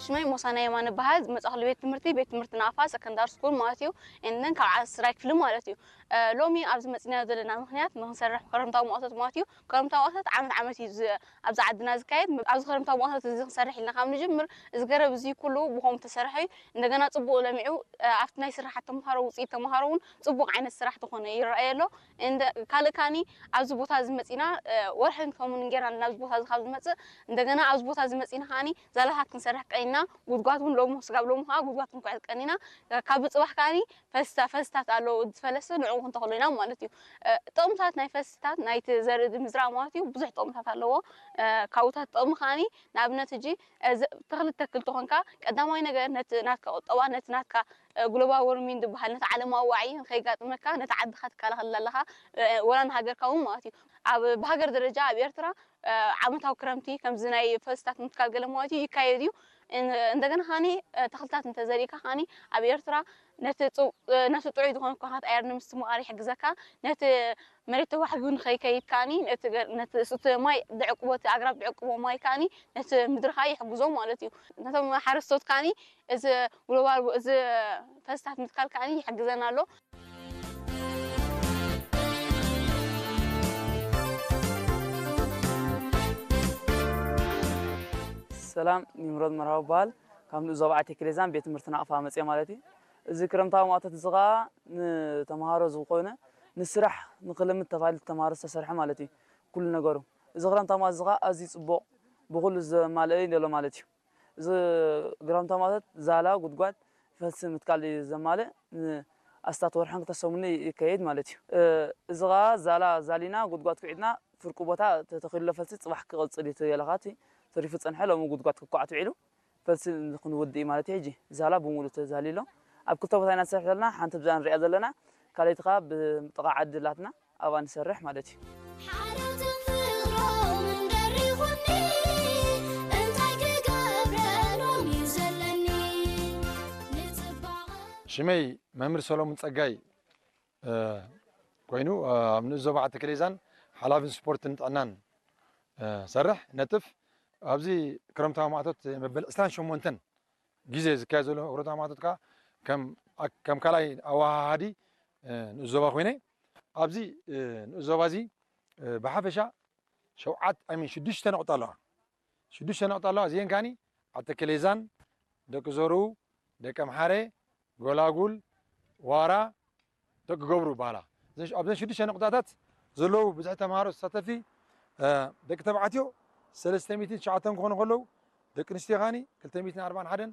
ሽመይ ሞሳና የማነ በሃል። ዝመጻእኩሉ ቤት ትምህርቲ፣ ቤት ትምህርቲ ናፋ ሰከንዳሪ ስኩል ማለት እዩ። And then ካብ ዓስራይ ክፍሊ ማለት እዩ። እ፣ ሎሚ ኣብዚ መጺናዮ ዘለና ምኽንያት ንክንሰርሕ ክረምታዊ ማእቶት ማለት እዩ። ክረምታዊ ማእቶት ዓመት ዓመት እዩ ዝ-፣ ኣብዚ ዓድና ዝካየድ። ኣብዚ ክረምታዊ ማእቶት እዚ ክንሰርሕ ኢልና ካብ ንጅምር፣ እዚ ገረብ እዚ ኩሉ ብኸምኡ ተሰርሐ እዩ። እንደገና ጽቡቕ ለሚዑ፣ እ፣ ኣብቲ ናይ ስራሓት ተምሃሮ፣ ውጽኢት ተምሃሮ እውን ጽቡቕ ዓይነት ስራሕ ዝኾነ ይረኣየ ኣሎ። እንደ-፣ ካልእ ካኒ ኣብዚ ቦታ እዚ መጺና፣ እ፣ ወርሕን ከሙን ጌርና ናብዚ ቦታ እዚ ካብ ዝመጽእ፣ እንደገና ኣብዚ ቦታ እዚ መጺና ካኒ ዛላታት ክንሰርሕ ቀኒና፣ ጉድጓድ እውን ሎሚ፣ ስጋብ ሎሚ ከዓ ጉድጓድ ክንኩዕት ቀኒና። እ፣ ካብ ጽባሕ ካኒ ፈስታ-፣ ፈስታት ኣለዉ፣ ዝፈለሰ ንዕኡ ክንተኽሎ ኢና ማለት እዩ። እ፣ ጥቕምታት ናይ ፈስታት ናይቲ ዘርኢ ምዝራእ ማለት እዩ ብዙሕ ጥቕምታት ኣለዎ። እ፣ ካብኡታት ጥቕሚ ካኒ ንኣብነት ሕጂ፣ እ፣ ዘ-፣ ተኽሊ ተክል ተኾንካ ቀዳማይ ነገር ነቲ ናትካ ቁጠባ፣ ነቲ ናትካ፣ እ፣ ግሎባል ዎርሚንግ ዝበሃል ነቲ ዓለማዊ ዋዒ ንኸይጋጥመካ ነቲ ዓድኻ ትከላኸል ኣለኻ፣ እ፣ ወላ ንሃገርካ እውን ማለት እዩ። ኣብ፣ ብሃገር ደረጃ ኣብ ኤርትራ፣ እ፣ ዓመታዊ ክረምቲ ከምዚ ናይ ፈስታት ምትካል ገለ ማለት እዩ ይካየድ እዩ። እን-፣ እንደገና ኻኒ፣ እ፣ ተኽልታት እንተዘሪእካ ኻኒ ኣብ ኤርትራ ነቲ ጽው-፣ እ፣ ነቲ ጥዑይ ዝኾነ ኩነታት ኣየር ንምስትምቓር ይሕግዘካ። ነቲ መሬት ተዋሕጊኡ ንኸይከይድ ከኣኒ ነቲ ገ-፣ ነቲ፣ እቲ ማይ ዝዕቅቦ፣ እቲ ኣግራብ ዝዕቅቦ ማይ ከኣኒ ነቲ ምድሪ ከኣ ይሕግዞ ማለት እዩ። ነቶም ሓረስቶት ከኣኒ እዚ ግሎባል፣ እዚ ፈስታት ምትካል ከኣኒ ይሕግዘና ኣሎ። ሰላም፣ ኒምሮድ መርሃዊ ይበሃል። ካብ ንኡስ ዞባ ዓቴ ክሌዛን ቤት ትምህርቲ ናቕፋ መፅየ ማለት እዩ። እዚ ክረምታዊ ማእቶት እዚ ኸዓ ንተምሃሮ ዝኾነ ንስራሕ ንክልምድ ተባሂሉ ተምሃሮ ዝተሰርሐ ማለት እዩ። ኩሉ ነገሩ እዚ ክረምታዊ ማእቶት እዚ ኸዓ ኣዝዩ ፅቡቕ ብኩሉ ዘማልአ እዩ ዘሎ ማለት እዩ። እዚ ክረምታዊ ማእቶት ዛላ፣ ጉድጓድ፣ ፈልሲ ምትካል እዩ ዘማልእ። ንኣስታት ወርሕን ክልተ ሰሙን ይካየድ ማለት እዩ። እ፣ እዚ ኸዓ ዛላ ዛሊና ጉድጓድ ኩዒትና ፍርቁ ቦታ ተተኺሉ ፈልሲ ፅባሕ ክቕፅል እዩ ተገለኻት ተሪፉ ፀንሐ። ሎሚ ጉድጓድ ክኳዕ ትውዒሉ ፈልሲ ክንውድእ እዩ ማለት እዩ። ሕጂ ዛላ ብሙሉ ተዛሊሎ ኣብ ክልተ ቦታ ኢና ንሰርሕ ዘለና። ሓንቲ ብዛ ንሪኣ ዘለና፣ ካልኣይቲ ኸዓ ብጥቓ ዓዲ ላትና ኣብኣ ንሰርሕ ማለት እዩ። ሓረትን ፍቕሮምን ደሪኹኒ፣ እንታይ ክገብረሎም እዩ ዘለኒ? ንጽባቐ ሽመይ መምህር ሰሎሙን ጸጋይ፣ እ፣ ኮይኑ፣ እ፣ ኣብ ንኡስ ዞባ ዓዲ ክሌዛን ሓላፍን ስፖርትን ጥዕናን፣ እ፣ ሰርሕ ነጥፍ። ኣብዚ ክረምታዊ ማእቶት መበል ዕስራን ሸሞንተን ግዜ ዝካየድ ዘሎ ክረምታዊ ማእቶት ከኣ ከም፣ ከም ካልኣይ ኣወሃሃዲ፣ እ፣ ንኡስ ዞባ ኮይነ ኣብዚ፣ እ፣ ንኡስ ዞባ እዚ፣ እ፣ ብሓፈሻ ሸውዓት፣ ኣይ ሚን ሽዱሽተ ነቑጣ ኣለዋ። ሽዱሽተ ነቑጣ ኣለዋ። እዚአን ከኣኒ ዓዲ ክሌዛን፣ ደቂ ዘርኡ፣ ደቂ ኣምሓረ፣ ጎላጉል፣ ዋራ፣ ደቂ ገብሩ ይበሃላ። እዘን ሽ-፣ ኣብዘን ሽዱሽተ ነቑጣታት ዘለዉ ብዝሒ ተምሃሮ ተሳተፍቲ፣ እ፣ ደቂ ተባዕትዮ ሰለስተ ሚእትን ትሽዓተን ክኾኑ ከለዉ፣ ደቂ ኣንስትዮ ከኣኒ ክልተ ሚእትን ኣርባዓን ሓደን